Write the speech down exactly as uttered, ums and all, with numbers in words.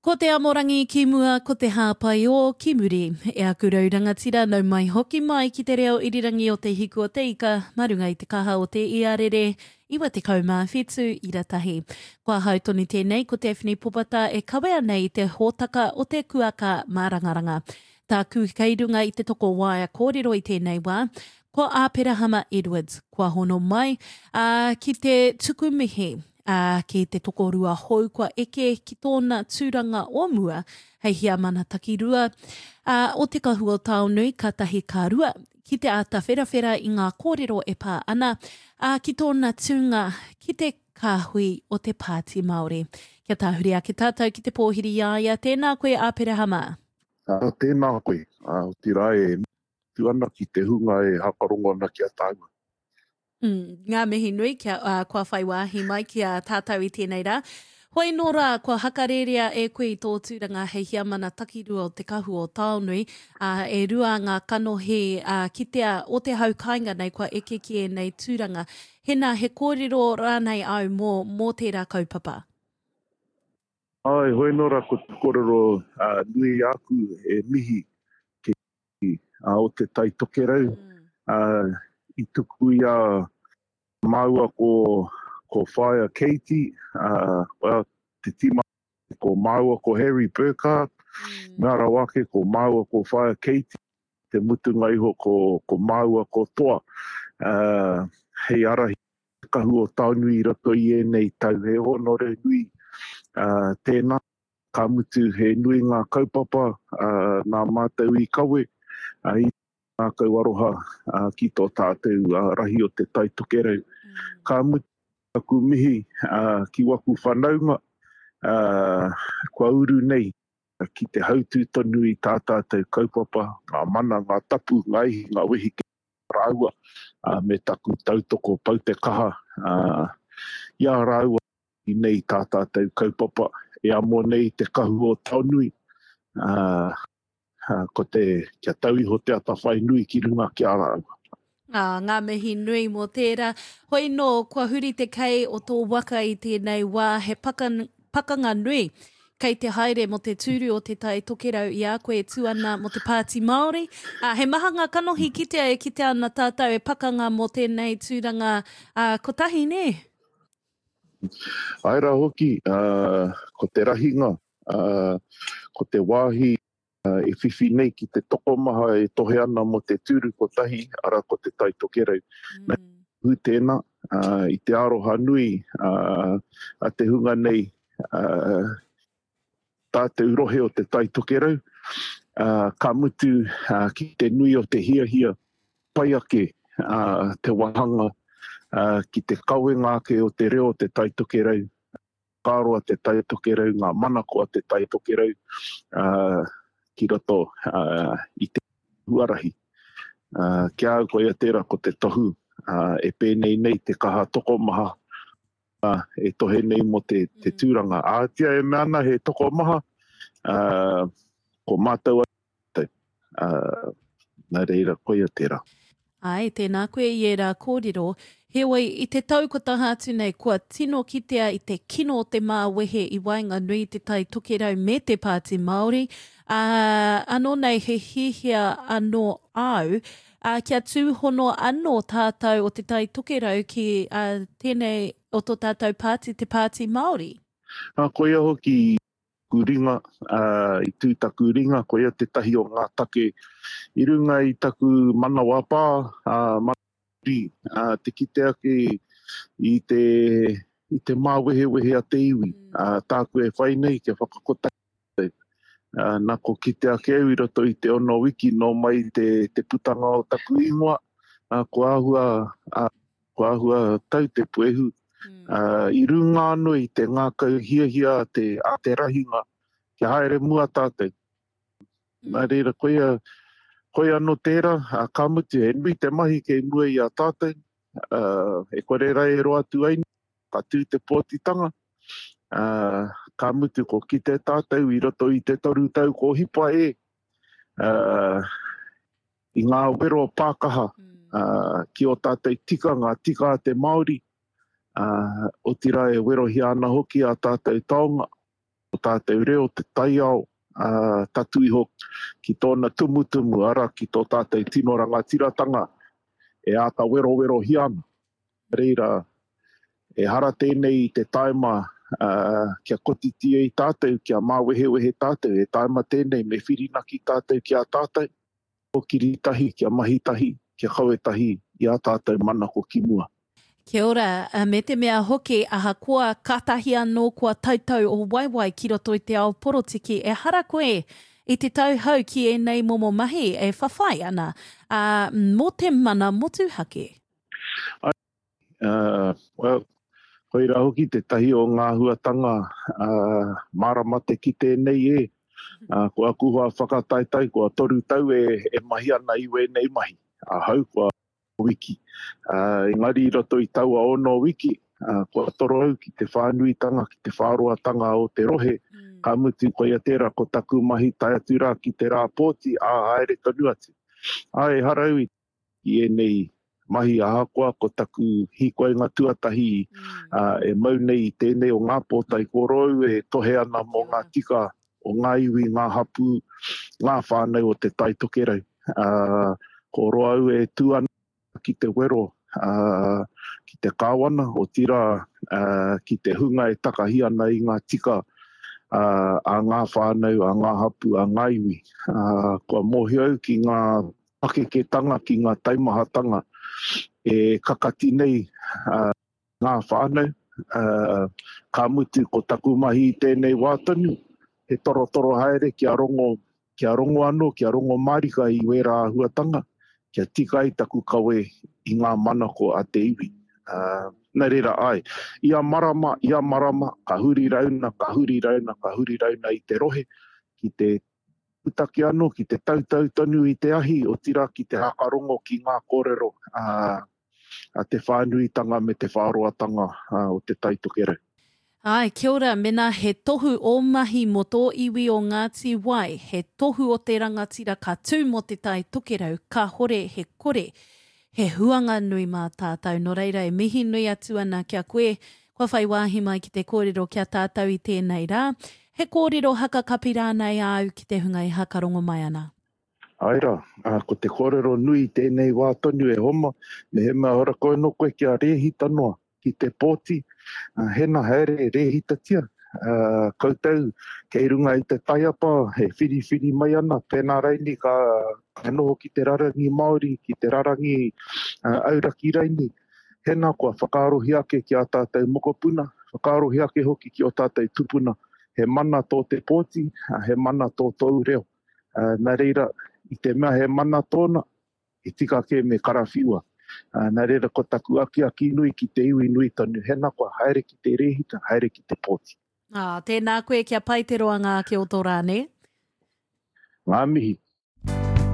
Ko te amorangi ki mua, ko te hāpai ō ki muri. E aku rau rangatira, nau mai hoki mai ki te reo irirangi o Te Hiku o Te Ika, mā runga i te kaha o te iarere iwa tekau mā whitu ira tahi. Ko ahau tonu tēnei, ko Daphne Popata e kawea nei i te hōtaka o te kuaka mārangaranga. Tāku kei runga i te toko waea kōrero i tēnei wā, ko Āperahama Edwards, kua hono mai ā, ki te tuku mihi ā, ki te tokorua hou kua eke ki tōna tūranga o mua hei heamana takirua ā, o Te Kahu o Taonui ka tahi ka rua, ki te āta wherawhera i ngā kōrero e pā ana ā, ki tōna tūnga ki te kāhui o te Pāti Māori. Kia tāhuri ake tātou ki te pōhiri i a ia, tēnā koe Āperahama. Ā, tēnā koe, ā, otirā e tu ana ki te hunga e hakarongo ana ki a tāua. Mm, ngā mihi nui kia, uh, kua whai wāhi mai ki a tātou i tēnei rā. Hoi nō rā, kua hakarērea e koe i tō tūranga hei heamana takirua o Te Kahu o Taonui, uh, e rua ngā kanohi uh, kitea o te hau kāinga nei kua eke ki ēnei tūranga. Hena, he kōrero rānei au mō, mō tērā kaupapa? Ai, hoi nō rā, ko te kōrero uh, nui āku e mihi ki uh, o te Tai Tokerau, mm. uh, i tuku i a māua ko, ko Whaea Katie, uh, well, te tima ko māua ko Harry Burkhardt, mm. ngā rawa ake ko māua ko Whaea Katie, te mutunga iho ko, ko māua ko Toa, uh, hei arahi kahu o Taonui i roto i ēnei tau, he honore nui uh, tēnā, ka mutu he nui ngā kaupapa uh, nā mātou i kawe, uh, i ngākau aroha uh, ki tō tātou uh, rahi o te Tai Tokerau. Mm. Ka mutu aku mihi uh, ki waku whanaunga, uh, kua uru nei ki te hautū tonu i tā tātou kaupapa, ngā mana, ngā tapu, ngā ihi, ngā wehi ki rāua, uh, me taku tautoko pau te kaha uh, i a rāua i nei tā tātou kaupapa e amo nei te kahu o Taonui. Uh, ko te, kia tau iho te atawhai nui ki runga ki a rāua. Ah, ngā mihi nui mō tērā. Hoi nō, kua huri te kei o tō waka i tēnei wā, he pakan, pakanga nui kei te haere mō te tūru o te Tai Tokerau i a koe e tū ana mō te Pāti Māori. Ah, he maha ngā kanohi kitea e kitea ana tātou e pakanga mō tēnei tūranga ah, kotahi, nē? Ai rā hoki, uh, ko te rahinga, uh, ko te wāhi uh, e whiwhi nei ki te tokomaha e tohe ana mō te tūru kotahi, ara ko te Tai Tokerau. Mm. Hu tēnā, uh, i te aroha nui uh, a te hunga nei uh, tātou rohe o te Tai Tokerau, uh, ka mutu uh, ki te nui o te hiahia pai ake uh, te wahanga uh, ki te kawenga ake o te reo o te Tai Tokerau, whakaaro a te Tai Tokerau, ngā manako a te Tai Tokerau, uh, ki roto uh, i te huarahi. Uh, kia au koia tērā ko te tohu uh, e pēnei nei te kaha tokomaha uh, e tohe nei mō te, te tūranga. Ātia e mea ana he tokomaha, uh, ko mātou atu, uh, nā reira koia tērā. Ai, tēnā koe i ērā kōrero. Heoi, i te tau ko taha atu nei, kua tino kitea i te kino o te māwehe i waenganui i te Tai Tokerau me te Pāti Māori. Uh, anō nei he hiahia anō au, uh, kia tūhono anō tātou o te Tai Tokerau ki uh, tēnei o tō tātou pāti, te Pāti Māori. Uh, koia hoki taku ringa, uh, i tū taku ringa, koia tētahi o ngā take i runga i taku manawa pā, uh, manuri, uh, te kite ake i te, i te māwehewehe a te iwi. Uh, tāku e whai nei kia whakakotahi. Uh, nā ko kite ake au i roto i te ono wiki nō mai te, te putanga o taku ingoa, uh, ko āhua, uh, ko āhua tau te puehu. Uh, i runga anō i te ngākau hiahia a te, a te rahinga, kia haere mua tātou. Nā reira, koia, koia anō tērā, uh, ka mutu, he nui te mahi kei mua i a tātou, uh, e kore rai e roa atu ai, ka tū te pōtitanga, uh, ka mutu ko kite tātou i roto i te toru tau ko hipa e, uh, i ngā wero pākaha uh, ki o tātou tika, ngā tika a te Māori, uh, otirā e werohia ana hoki a tātou taonga. Tātou reo, te taiao, uh, tatu iho ki tōna tumutumu, ara ki tō tātou tino rangatiratanga e āta werowerohia ana. Reira, ehara tēnei i te taima uh, kia kotiti ai tātou, kia māwehewehe tātou, he taima tēnei me whirinaki tātou ki a tātou, kōkiri tahi, kia mahi tahi, kia kawe tahi i a tātou manako ki mua. Kia ora, me te mea hoki, ahakoa kātahi anō kua tautau o waewae ki roto i te ao porotiki, ehara koe i te tauhou ki ēnei momo mahi e whawhai ana uh, mō te mana motuhake. Uh, well, koira hoki te tahi o ngā huatanga uh, mārama te ki tēnei e. Uh, ko aku hoa whakataetae, kua toru tau e, e mahi ana i wēnei mahi. Ahau kua wiki. Uh, engari i roto i taua ono wiki, uh, kua toro au ki te whānuitanga, ki te whāroatanga o te rohe. Mm. Ka mutu koia tērā ko taku mahi tae atu rā ki te rā pōti, ā haere tonu atu. Ā, ehara au i ēnei mahi ahakoa ko taku hīkoinga tuatahi mm. uh, e mau nei i tēnei o ngā pōtae korou e tohe ana mō ngā tika o ngā iwi, ngā hapū, ngā whānau o te Tai Tokerau. Uh, ko roa au e tū ana ki te wero, uh, ki te kāwana, otirā uh, ki te hunga e takahi ana i ngā tika uh, a ngā whānau, a ngā hapū, a ngā iwi. Uh, kua mōhio au ki ngā pakeketanga, ki ngā taimahatanga e kakati nei uh, ngā whānau. Uh, ka mutu ko taku mahi i tēnei wā tonu, he torotoro haere kia rongo, kia rongo anō, kia rongo mārika i wērā āhuatanga, kia tika ai taku kawe i ngā manako a te iwi. Uh, nā reira ai, ia marama, ia marama, ka huri rauna, ka huri rauna, ka huri rauna i te rohe, ki te putake anō, ki te tautau tonu i te ahi, otirā ki te hakarongo ki ngā kōrero uh, a te whānuitanga me te whāroatanga uh, o te Tai Tokerau. Ai, kia ora, mena he tohu o mahi mō tō iwi o Ngāti Wai, he tohu o te rangatira ka tū mō te Tai Tokerau, ka hore he kore, he huanga nui mā tātou. Nō reira e mihi nui atu ana kia koe, kua whai wāhi mai ki te kōrero kia tātou i tēnei rā. He kōrero hakakapi rānei āu ki te hunga e hakarongo mai ana. Ai rā, ko te kōrero nui i tēnei wā tonu e homa, me he mea hora koe no koe kia rēhita noa ki te pōti, hena haere rēhitatia, uh, koutou kei runga i te taiapa, he whiriwhiri mai ana, pēnā raini ka, ka noho ki te rarangi Māori, ki te rarangi uh, auraki raini. Hena kua whakaarohi ake ki a tātou mokopuna, whakaarohi ake hoki ki o tātou tupuna. He mana tō te pōti, he mana tō tōu reo. Uh, nā reira, i te mea he mana tōna, he tika kē me karawhiua. Uh, nā reira ko taku akiaki nui ki te iwi nui tonu, hena kua haere ki te rēhita, haere ki te pōti. Ah, tēnā koe kia pai te roanga ake o tō rā, ne? Ngā mihi.